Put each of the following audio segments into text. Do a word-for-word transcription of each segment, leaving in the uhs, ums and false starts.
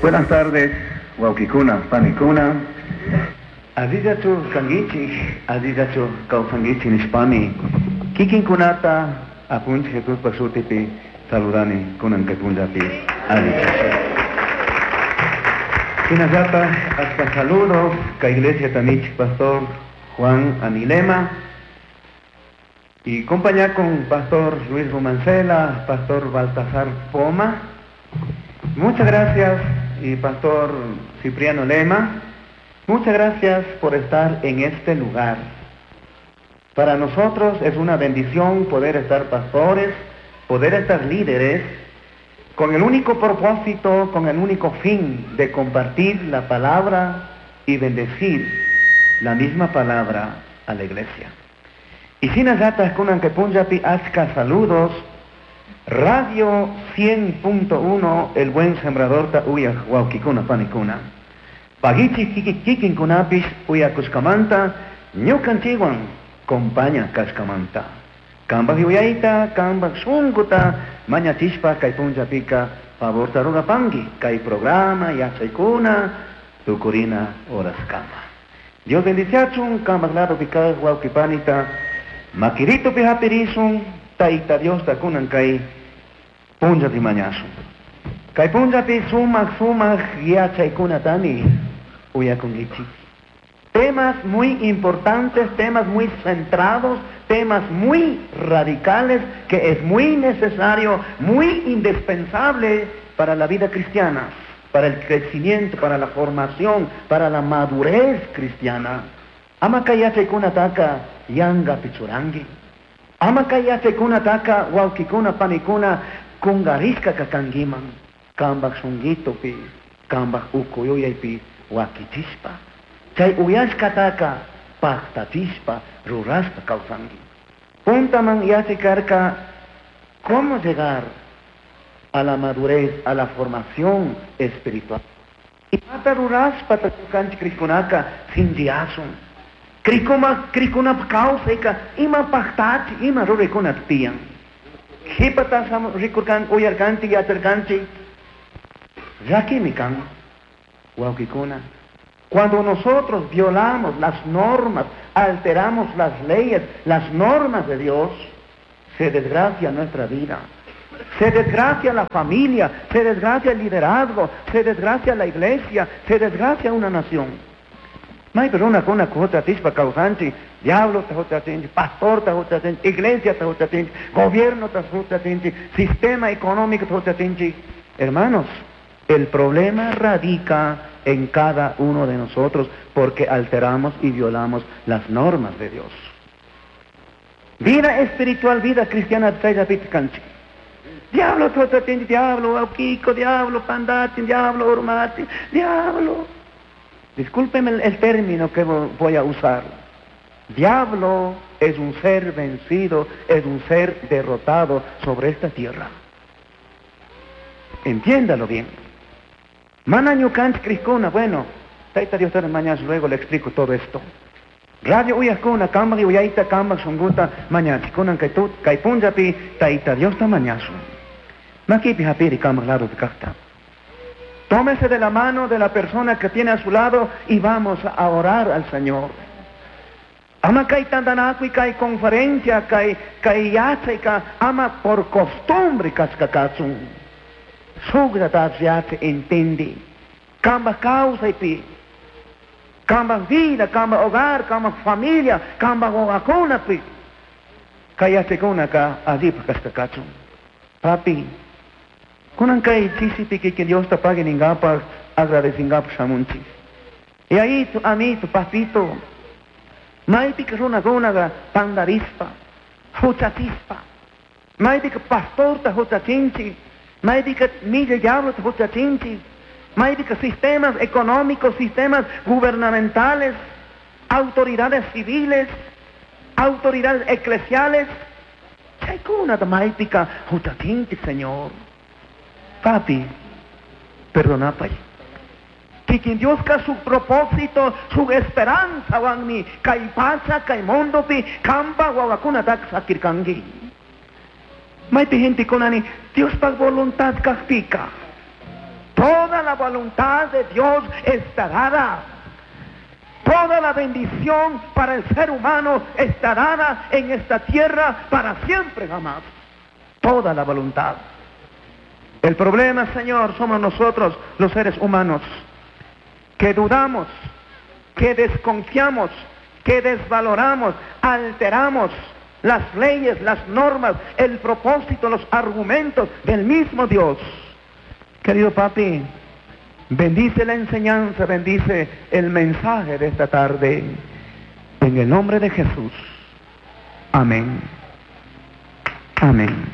Buenas tardes, wawkikuna, panikuna. Allillachu kankichik, allillachu kawsankichik nishpami. Kikinkunata apunchik Jesuspa shutipi saludani kunan kay punllapi allichasha. Shinallata hasta saludos kay iglesia tamich pastor Juan Anilema y compañía con pastor Luis Romancela, pastor Baltasar Poma. Muchas gracias y pastor Cipriano Lema. Muchas gracias por estar en este lugar. Para nosotros es una bendición poder estar pastores, poder estar líderes, con el único propósito, con el único fin de compartir la palabra y bendecir la misma palabra a la iglesia. Y shinallata kunan kay punllapi achka saludos, Radio cien punto uno, El Buen Sembrador ta uyaj wawkikuna panikuna. Pagichi kikinkunapish uyakushkamanta, ñukanchikwan compaña kashkamanta. Kambaj yuyayta, kambaj shunkuta, mañachishpa kay punllapika favorta rurapanki, kay programa yachaykuna tukurina horaskama. Dios bendiciachun, kambaj lado pikaj wawkipanita, makirito pihapirisun, Tayta Dios kunan kay punllapi mañasun. Kay punllapi sumaq sumaq yachaykunatami uyakunkichik. Temas muy importantes, temas muy centrados, temas muy radicales que es muy necesario, muy indispensable para la vida cristiana, para el crecimiento, para la formación, para la madurez cristiana. Ama kay yachaykunataka yanga pichurangi. Ama kay yachaykunataka wawkikuna panikuna kungarishka kakankiman. Kambaj shunguitopi, kambaj ukuyuyaypi wakichishpa. Chay uyashkataka pactachishpa rurashpa kawsanki. Puntaman yachikarka cómo llegar a la madurez, a la formación espiritual. Imata rurashpa ñukanchik krikunaka sinchiyasun. Krikuma, krikunap kawsayka ima pactachi, ima ruraykuna tiyan. Qhipata rikurkan, uyarkanchik, yacharkanchik. Llakimi kan, wawkikuna. Cuando nosotros violamos las normas, alteramos las leyes, las normas de Dios, se desgracia nuestra vida. Se desgracia la familia, se desgracia el liderazgo, se desgracia la iglesia, se desgracia una nación. Maypi runakuna huchachishpa kawsanchik, diablo ta huchachinchik, pastor ta huchachinchik, iglesia ta huchachinchik, gobierno ta huchachinchik, sistema económico ta huchachinchik. Hermanos, el problema radica en cada uno de nosotros porque alteramos y violamos las normas de Dios. Vida espiritual, vida cristiana, chayllapitik kanchik. Diablo, huchachinchik, diablo, wawkiko, diablo, pandachin, diablo, urmachin, diablo. Discúlpeme el, el término que vo-, voy a usar. Diablo es un ser vencido, es un ser derrotado sobre esta tierra. Entiéndalo bien. Mana ñukanchik krikuna, bueno, Taita Dios mañana luego le explico todo esto. Radio uyakuna, kambaj uyayta, kambaj shunguta, mañachikuna, kay tut, kay punllapi, Taita Dios ta mañasun. Makipi hapiri kambaj lado kakta. Tómese de la mano de la persona que tiene a su lado y vamos a orar al Señor. Ama kay tantanakuy, kay conferencia, kay, kay yachay, ka, ama por costumbre kashkakachun. Sugra yache entende. Kamba kawsaypi. Kamba vida, kamba hogar, kamba familia, kamba wawakunapi. Kay yachakuna ka allipa kashkakachun. Papi, kunan kay chisipi que Dios te pague ningapaj, agradecingapaj shamunchik. Y ahí tu amito, papito, maypika runakunaqa pandarispa, huchachispa, maypika pastorta huchachinchik, maypika milla diablota huchachinchik, maypika sistemas económicos, sistemas gubernamentales, autoridades civiles, autoridades eclesiales. Chaykunata maypika huchachinchik, Señor. Papi, perdonapay. Kikin Dios ka su propósito, su esperanza wanmi, kay pacha, kay mundopi, kamba wawakuna tak sakirkangi. Maypi gente kunani, Dios pa voluntad kajpika. Toda la voluntad de Dios está dada. Toda la bendición para el ser humano está dada en esta tierra para siempre jamás. Toda la voluntad. El problema, Señor, somos nosotros los seres humanos, que dudamos, que desconfiamos, que desvaloramos, alteramos las leyes, las normas, el propósito, los argumentos del mismo Dios. Querido papi, bendice la enseñanza, bendice el mensaje de esta tarde. En el nombre de Jesús. Amén. Amén.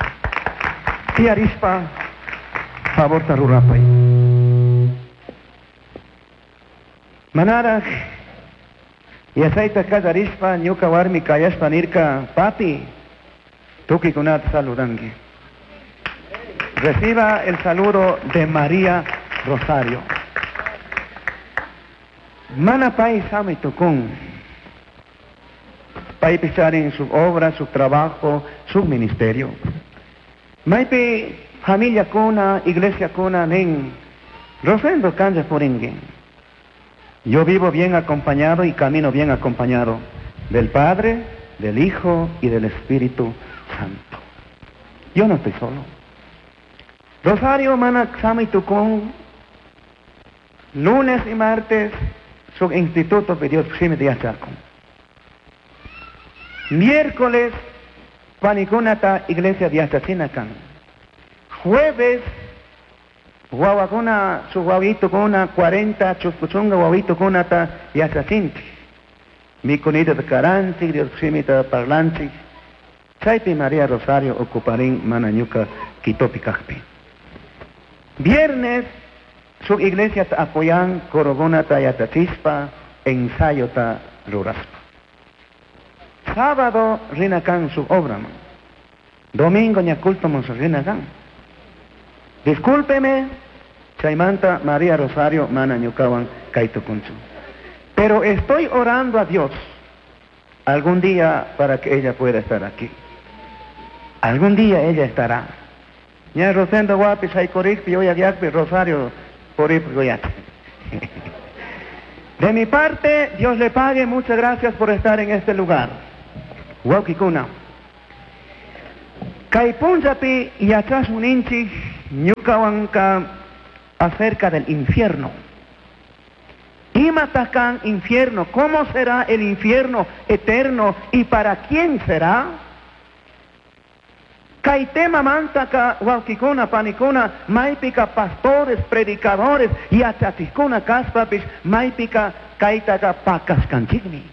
Tiarispa, favor tarurapay. Manaraj, yachayta kallarishpa ñuka warmi kayashpa nirka, papi, tukikunata saludanki. Reciba el saludo de María Rosario. Mana pay sami tukun. Pay picharin su obra, su trabajo, su ministerio. Maypi familia kuna, iglesia kuna nin, Rosendo kanja puringui. Yo vivo bien acompañado y camino bien acompañado del Padre, del Hijo y del Espíritu Santo. Yo no estoy solo. Rosario mana sami tukun, lunes y martes, su instituto pidió de yachakun. Miércoles, panikunata iglesia yachachinakan. Jueves, guawakuna, su guawito kuna, cuarenta, chuspuchunga guawito kunata yachachinti. Mikunita de karanchi, Dios shimita parlanchi. Chaypi María Rosario ocuparín mana ñuka quitopi kajpi. Viernes, su iglesia ta apoyan corogona ta yachachispa, ensayo ta ruraspa. Sábado, rinakan su obra. Domingo, ña culto mon rinakan. Discúlpeme, chaymanta María Rosario mana ñukawan kaitukunchu. Pero estoy orando a Dios algún día para que ella pueda estar aquí. Algún día ella estará. Ña Rosendo guapi, shaykorikpi, yoyagyakpi, Rosario porippi goyat. De mi parte, Dios le pague, muchas gracias por estar en este lugar. Wawkikuna. Kay punllapi yachashuninchik ñukawanka acerca del infierno. Imatakan infierno, ¿cómo será el infierno eterno y para quién será? Kay tema mantaka wawkikuna panikuna maypika pastores, predicadores yachachikuna kaspapis maypika kaytaka pakaskanchikmi.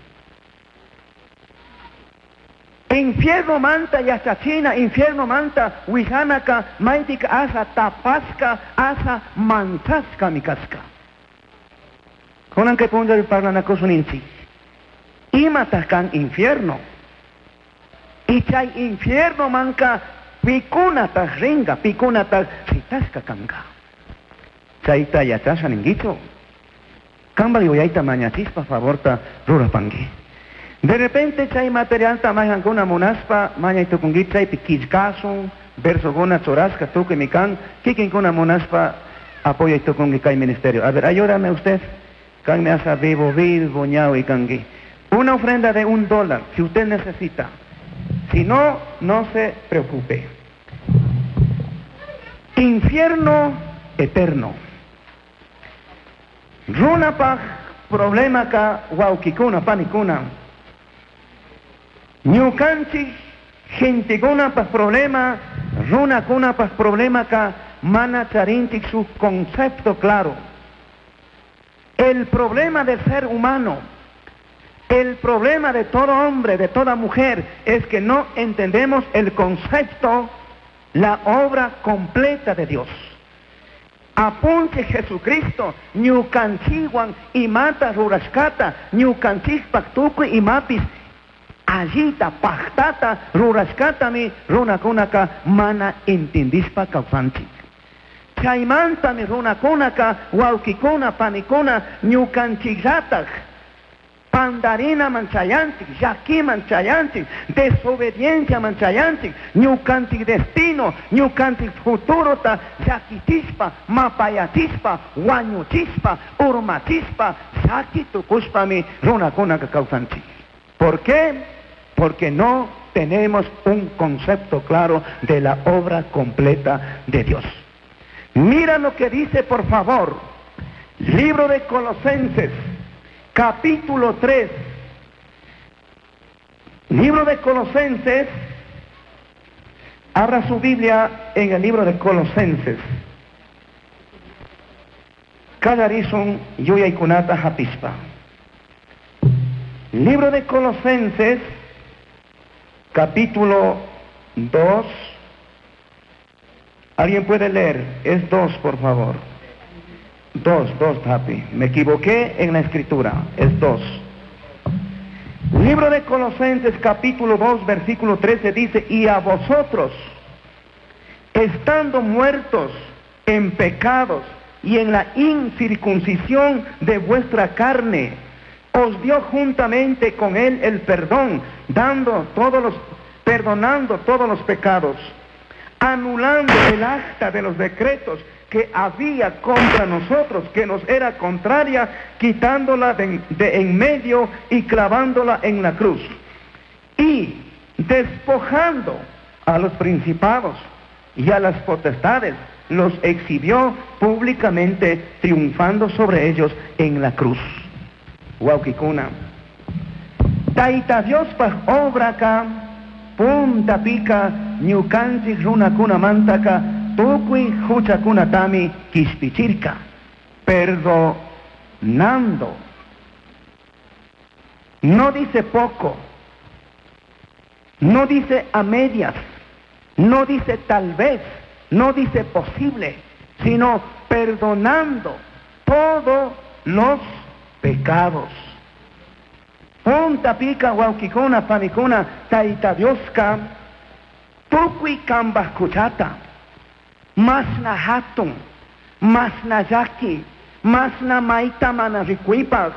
Infierno manta yachachina, infierno manta wijanaka maypika asa tapaska, asa manchaska mikaska. Kunan kay punllapi parlanakusuninchik. Imataq infierno? Y chay infierno manka pikunataq ringa, pikunataq shitashka kanka. Chayta yachasha ninkichu. Kanpak yuyayta mañachispa favorta rurapanki. De repente chay materialta mayhankuna munaspa mañay tukunki chaypi killkasun, versokuna churashka tukuy mikan, kikinkuna munaspa apoyay tukunki kay ministerio. A ver, ayúdame usted. Kanmi asa vivo vivo ñawi kanki. Una ofrenda de un dólar, si usted necesita. Si no, no se preocupe. Infierno eterno. Runapaj problema ka wawkikuna panikuna. Ñukanchik gentekuna paj problema, runakuna paj problema ka mana charinchik su concepto claro. El problema del ser humano, el problema de todo hombre, de toda mujer, es que no entendemos el concepto, la obra completa de Dios. Apunche Jesucristo, ñukanchikwan imata rurashkata, ñukanchikpak tukuy imapis, allita, pajtata, rurashkatami runakunaka mana entendishpa kawsanchik. Chaymantami runakunaka, wawkikuna, panikuna, ñukanchikllataj, Pandarinaman chayanchik, llakiman chayanchik, desobedienciaman chayanchik, ñukanchik destino, ñukanchik futurota llakichishpa, mapayachishpa, wañuchishpa, urmachishpa, llaki tukushpami runakunaka kawsanchik. ¿Por qué? Porque no tenemos un concepto claro de la obra completa de Dios. Mira lo que dice, por favor, libro de Colosenses, capítulo tres. Libro de Colosenses, abra su Biblia en el libro de Colosenses. Kallarishun yuyaikunata hapishpa. Libro de Colosenses, capítulo dos. ¿Alguien puede leer? Es dos, por favor. Dos, dos, papi. Me equivoqué en la escritura. Es dos. Libro de Colosenses, capítulo dos, versículo trece dice, y a vosotros, estando muertos en pecados y en la incircuncisión de vuestra carne, os dio juntamente con él el perdón, dando todos los, perdonando todos los pecados, anulando el acta de los decretos que había contra nosotros, que nos era contraria, quitándola de, de en medio y clavándola en la cruz. Y despojando a los principados y a las potestades, los exhibió públicamente, triunfando sobre ellos en la cruz. Wawqikuna. Taita Diospaj obraka, puntapika, ñukanchik runakunamantaka, tukuy huchakunatami quishpichirka, perdonando. No dice poco, no dice a medias, no dice tal vez, no dice posible, sino perdonando todos los pecados. Puntapika wawqikuna panikuna Taita Dioska tukuy kambaj huchata, mashna hatun, mashna llaki, mashna maita mana rikuipaj,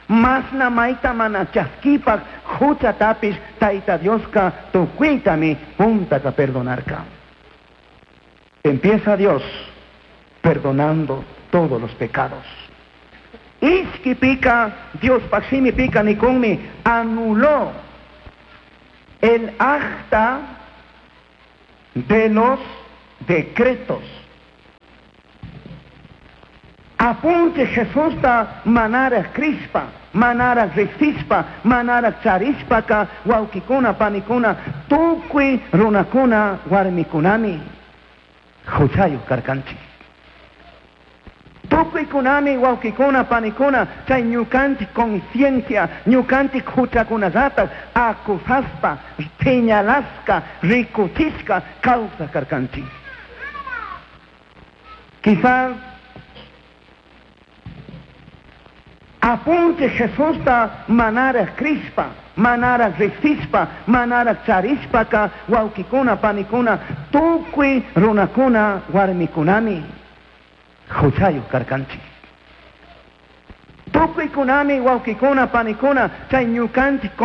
mashna maita mana chaskipaj, huchatapish Taita Dioska tukuytami puntaka perdonarka. Empieza Dios perdonando todos los pecados. Ishkipika, Diospaj shimipika nikunmi anuló el acta de los decretos. Apunchij Jesusta manaraj crishpa, manaraj rijsishpa, manaraj charishpaka, wawqikuna, panikuna, tukuy runakuna, warmikunami, huchayuq karkanchik. Tukuykunami, wawqikuna, panikuna, chay ñukanchik conciencia, ñukanchik huchakunallata, acusaspa, señalasqa, rikuchishka, kawsaq karkanchik. Quizás apunchij Jesusta manaraj crishpa, manaraj rijsishpa, manaraj charishpaka, wawqikuna, panikuna, tukuy runakuna, warmikunami, huchayuq karkanchik. Tukuykunami, wawqikuna, panikuna, chay ñukanchik